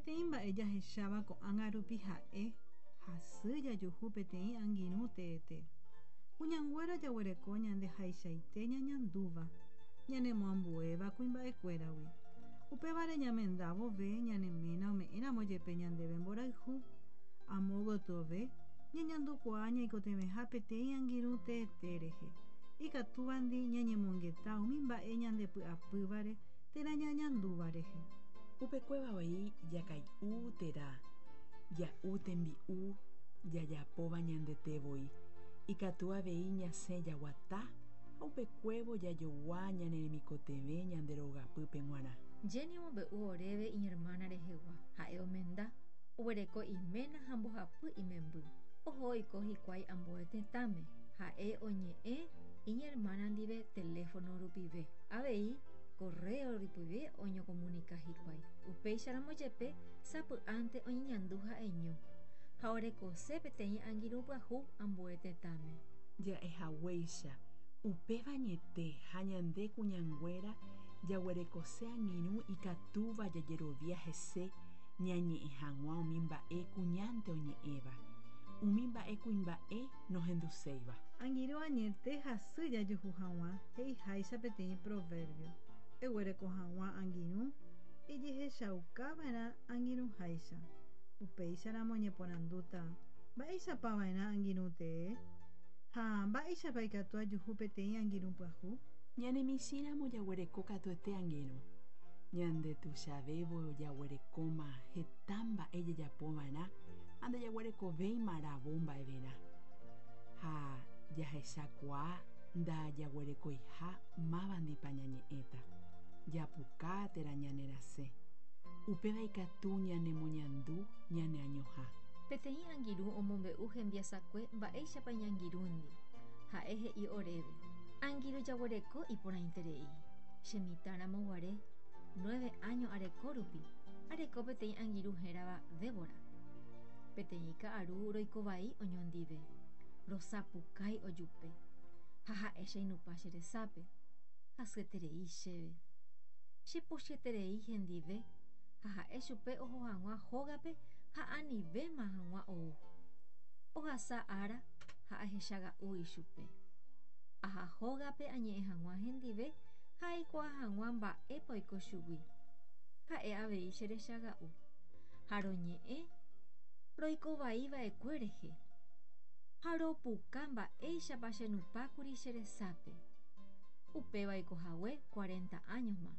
Peteĩ mba'e jahecháva ko'ág̃a rupi ha'e, hasy jajuhu peteĩ angirũ teete. Kuñanguéra jaguereko ñande haichaite ñañandúva, ñanemoambuéva kuimba'ekuéragui. Upévare ñamenda vove ñane ména ome'ẽramo jepe ñandéve mborayhu, amo gotyove ñañandukuaa ñaikotevẽha peteĩ angirũ teete rehe, ikatúvandi ñañemongeta umi mba'e ñandepy'apývare térã ñañandúva rehe. Upekuéva voi jakay'u térã ja'u tembi'u jajapóva ñandete voi. Ikatu avei ñasẽ jaguata ha upekuévo jajogua ñane remikotevẽ ñande rogapýpe g̃uarã. Jenny omombe'u oréve iñermána rehegua. Ha'e omenda, oguereko iména ha mbohapy imemby. Oho oiko hikuái ambue tetãme. Ha'e oñe'ẽ iñermána ndive teléfono rupive. Avei korréo rupive oñokomunika hikuái. Upéicharamo jepe sapy'ánte oñeñandu ha'eño ha orekose peteĩ angirũ pyahu ambue tetãme. Ja'ehaguéicha, upéva añete ha ñande kuñanguéra jaguerekose angirũ ikatúva jajerovia hese ñañe'ẽ hag̃ua umi mba'e kuñánte oñe'ẽva, umi mba'e kuimba'e nohenduséiva. Angirũ añete hasy jajuhu hag̃ua he'iháicha peteĩ proverbio, Eguereko hag̃ua angirũ ejehechaukava'erã angirũháicha. Upéicharamo oñeporandúta, Mba'éichapa va'erã angirũ tee? Ha mba'éichapa ikatu ajuhu peteĩ angirũ pyahu? Ñane michĩramo jaguereko katuete angirũ. Ñande tuichavévo jaguerekóma heta mba'e jajapova'erã ha ndajaguerekovéima ravo mba'everã. Ha jahechakuaa ndajaguerekoiha mávandipa ñañe'ẽta, japuka térã ñanerasẽ. Upéva ikatu ñanemoñandu ñaneañoha. Peteĩ angirũ omombe'u hembiasakue mba'éichapa iñangirũndi. Ha'e he'i oréve, Angirũ jaguereko iporãiterei. Che mitã ramo guare, nueve áño areko rupi, areko peteĩ angirũ hérava Débora. Peteĩ ka'aru roiko vai oñondive, rosapukái ojupe, ha ha'e cheinupa che resápe. Hasyeterei chéve. Che pochyeterei hendive ha ha'e chupe oho hag̃ua hógape ha anivéma hag̃ua ou. Ohasa ára ha ahechaga'u ichupe. Aha hógape añe'ẽ hag̃ua hendive ha aikuaa hag̃ua mba'épa oiko chugui. Ha'e avei cherechaga'u. Ha roñe'ẽ roiko vai va'ekue rehe. Ha ropuka mba'éichapa chenupãkuri che resápe. Upéva oiko hague cuarenta áñoma.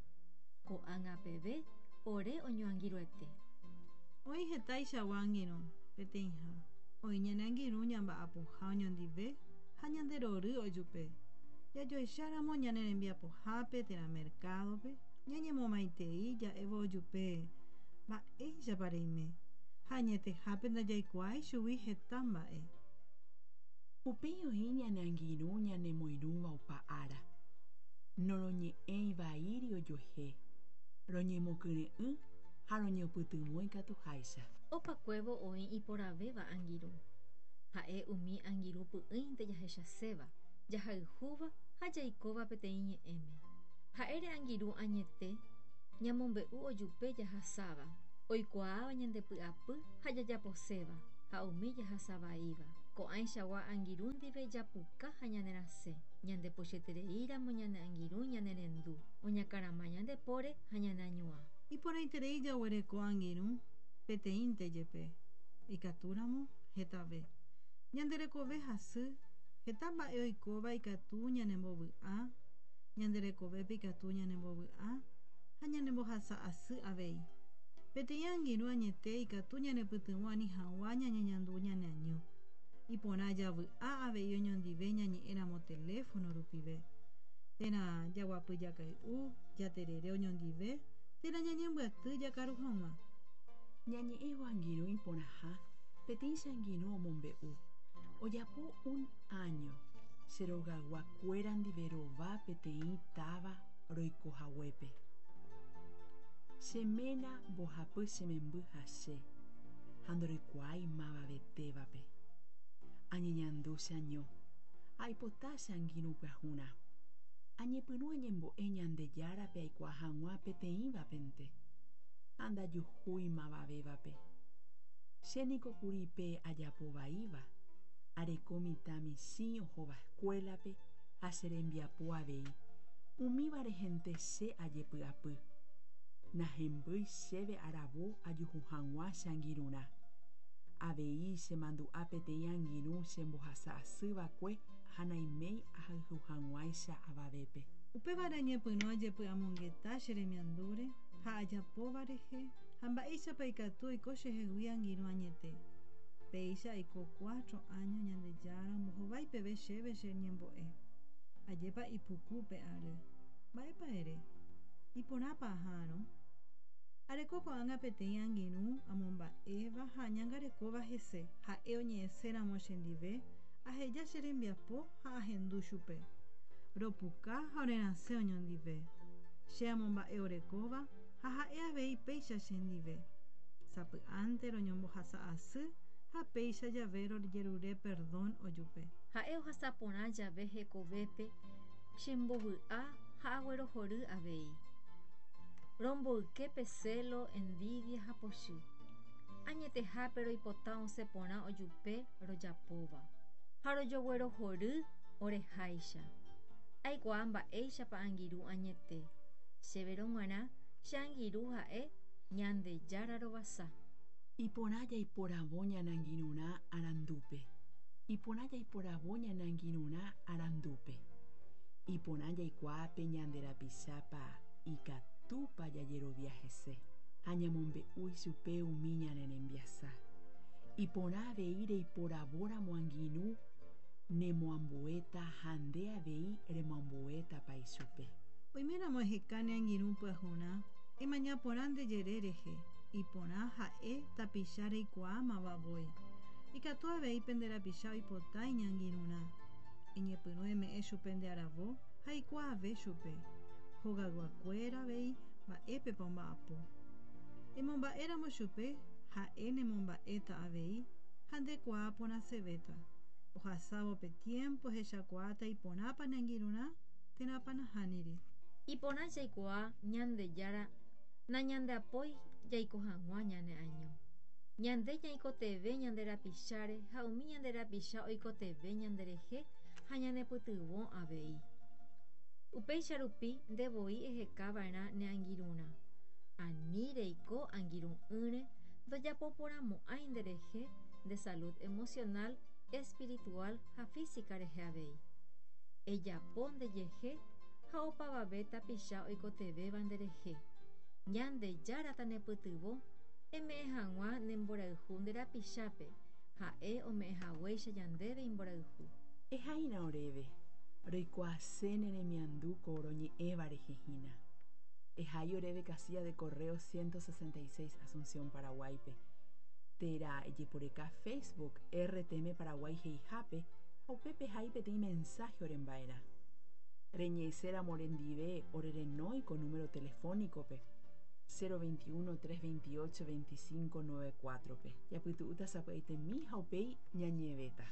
Ko'ág̃a peve ore oñoangirũete. Oĩ hetaichagua angirũ, peteĩha. Oĩ ñane angirũ ñamba'apoha oñondive ha ñande rory ojupe. Jajoecháramo ñane rembiapohápe térã merkádope, ñañemomaitei ja'évo ojupe mba'éichapa reime, ha añetehápe ndajaikuaái chugui heta mba'e. Upéi oĩ ñane angirũ ñanemoirũva opa ára. Noroñe'ẽi vaíri ojuehe, roñemokyre'ỹ ha roñopytyvõ ikatuháicha. Opakuévo oĩ iporãvéva angirũ. Ha'e umi angirũ py'ỹinte jahechaséva, jahayhúva ha jaikóva peteĩ ñe'ẽme. Ha'ére angirũ añete, ñamombe'u ojupe jahasáva, oikuaáva ñande py'apy ha jajaposéva, ha umi jahasavaíva. Ko'ãichagua angirũ ndive japuka ha ñanerasẽ. Ñande pochyetereíramo ñane angirũ ñanerendu, oñakarama ñande póre ha ñaneañuã. Iporãiterei jaguereko angirũ peteĩnte jepe, ikatúramo hetave. Ñande rekove hasy, heta mba'e oikóva ikatu ñanembovy'a, ñande rekovépe ikatu ñanembovy'a ha ñanembohasa asy avei. Peteĩ angirũ añete ikatu ñanepytyvõ ani hag̃ua ñañeñandu ñaneaño. Iporã javy'a avei oñondive ñañe'ẽramo teléfono rupive, térã jaguapy jakay'u, jaterere oñondive, térã ñañembyaty jakaru hag̃ua. Ñañe'ẽvo angirũ iporãha, peteĩ che angirũ omombe'u, Ojapo un áño, che rogaygua kuéra ndive rova peteĩ táva roiko haguépe. Che ména mbohapy che memby ha che, ha ndoroikuaái mavavetévape. Añeñandu cheaño, aipota che angirũ pyahurã. Añepyrũ añembo'e Ñandejárape aikuaa hag̃ua peteĩvapente. ha ndajuhúi mavavévape. Che niko kuri pe ajapo vaíva, areko mitã michĩ ohóva escuela-pe ha che rembiapo avei, umíva rehente che ajepy'apy. Nahembýi chéve aravo ajuhu hag̃ua che angirũrã. Avei chemandu'a peteĩ angirũ chembohasa asy va'ekue ha naiméi ahayhu hag̃uáicha avavépe. Upévare añepyrũ ajepy'amongeta che remiandúre ha ajapóva rehe ha mba'éichapa ikatu oiko chehegui angirũ añete. Péicha aiko cuatro áño Ñandejára ombohovái peve chéve che ñembo'e. Ajépa ipuku pe ary. Mba'épa ere? Iporãpa aha'arõ? Areko ko'ág̃a peteĩ angirũ amomba'éva ha añangarekóva hese, ha'e oñe'ẽséramo chendive, aheja che rembiapo ha ahendu chupe. Ropuka ha orerasẽ oñondive. Che amomba'e orekóva ha ha'e avei péicha chendive. Sapy'ánte roñombohasa asy ha péicha jave rojerure perdón ojupe. Ha'e ohasa porã jave hekovépe chembovy'a ha aguerohory avei. Romboyke pe celo, envidia ha pochy. Añetehápe roipota osẽ porã ojupe rojapóva. Ha rojoguerohory oreháicha. Aikuaa mba'éichapa angirũ añete. Chéverõ g̃uarã che angirũ ha'e Ñandejára rovasa. Iporã jaiporavo ñane angirũrã arandúpe. Iporã jaiporavo ñane angirũrã arandúpe. Iporã jaikuaa pe ñande rapichápa ikatúpa jajerovia hese ha ñamombe'u ichupe umi ñane rembiasa. Iporã avei reiporavóramo angirũ nemoambuéta ha nde avei remoambuétapa ichupe. Oiméramo eheka ne angirũ pyahurã, emaña porã nde jere rehe, iporã ha'e tapicha reikuaámava voi. Ikatu avei pende rapicha oipota iñangirũrã. Eñepyrũ eme'ẽ chupe nde aravo ha eikuaave chupe, hogayguakuéra avei mba'épepa omba'apo. Emomba'éramo chupe, ha'e nemomba'éta avei ha ndekuaa porãsevéta. Ohasávo pe tiémpo ehechakuaáta iporãpa ne angirũrã térãpa nahániri. Iporã jaikuaa Ñandejára nañandeapói jaiko hag̃ua ñane año. Ñande ñaikotevẽ ñande rapicháre ha umi ñande rapicha oikotevẽ ñanderehe ha ñanepytyvõ avei. Upéicha rupi nde voi eheka va'erã ne angirũrã. Ani reiko angirũ'ỹre ndojapoporãmo'ãi nderehe nde salud emocional, espiritual ha física rehe avei. Ejapo ndejehe ha opavave tapicha oikotevẽva nderehe. Ñandejára tanepytyvõ eme'ẽ hag̃ua ne mborayhu nde rapichápe, ha'e ome'ẽ haguéicha ñandéve imborayhu. Ehaína oréve, roikuaase ne remiandu ko roñe'ẽva rehe hína. Ehai oréve casilla de correo 166 Asunción, Paraguáipe, térã ejeporeka Facebook RTM Paraguay he'ihápe ha upépe ehai peteĩ mensaje oremba'erã. Reñe'ẽséramo orendive orerenói ko número telefónico-pe, 021 328 25 94-pe. Japytu'úta sapy'aitemi ha upéi ñañe'ẽvéta.